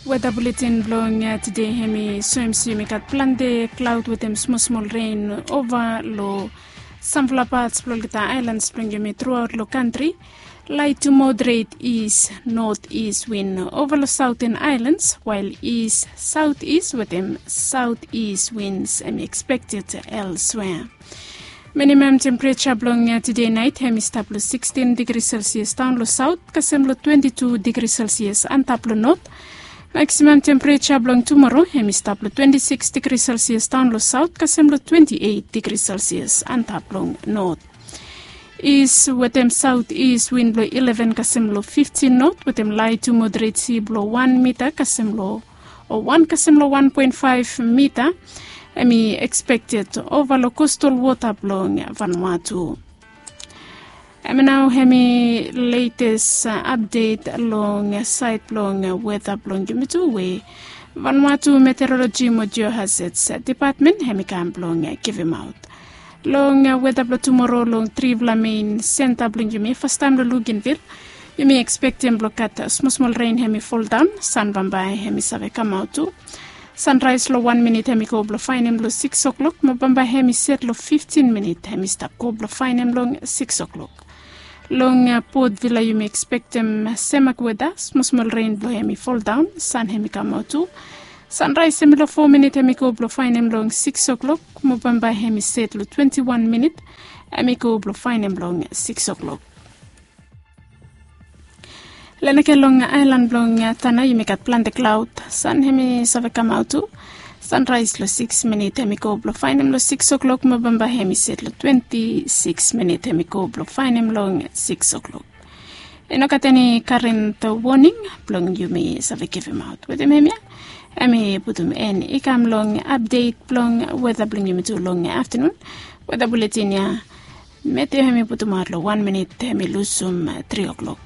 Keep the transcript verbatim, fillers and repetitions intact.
Weta buletin blong tede hem i soem se yumi gat plante klaod wetem smosmol ren ova long samfala pats blong olgeta aelans blong yumi truaot long kantri. Lait tu moderet is not is win ova long saoten aelans, wael is saot is wetem saot is wins hem i ekspekted elswea. Minimam tempereja blong tede nait hem i stap long sikstin digri selsias daon long saot kasem long twenti tu digri selsias antap long not. Maksimam tempereja blong tumoro hem i stap long twenti siks digri selsias daon long saot kasem long twenti eit digri selsias antap long not. Is wetem saot is win blong ileven kasem long fiftin not wetem lait tu moderet si blong wan mita kasem long o wan kasem long wan poen faef mita. Hem i ekspekted ova long kostal wota blong Vanuatu. Hem nao hem i letes apdet long saed blong weta blong yumi tu we Vanuatu Meteoroloji mo Geohazards Depatmen hem i kam blong givimaot. Long weta blong tumoro long trifala mein senta blong yumi fastaem long Lugenvil, yumi ekspektem blong gat smosmol ren hem i foldaon. San bambae hem i save kamaot tu. Sanraes long wan minit hem i go blong faenem long siks o'klok mo bambae hem i set long fiftin minit hem i stap go blong faenem long siks o'klok. Long Port Vila yumi ekspektem semak weta, smosmol ren blong hem i foldaon, san hem i kamaot tu. Sanraes hem i long fo minit hem i go blong faenem long siks o'klok mo bambae hem i set long twenti wan minit hem i go blong faenem long siks o'klok. Lenake long aelan blong Tana yumi gat plante klaod, san hem i save kamaot tu. Sanraes long siks minit hem i go blong faenem long siks o'klok mo bambae hem i set long twenti siks minit hem i go blong faenem long siks o'klok. I no gat eni karent woning blong yumi save givimaot wetem hemia. Hem i putum en i kam long apdet blong weta blong yumi tu long aftanun. Weta buletin ya Matthew hem i putumaot long wan minit hem i lusum tri o'klok.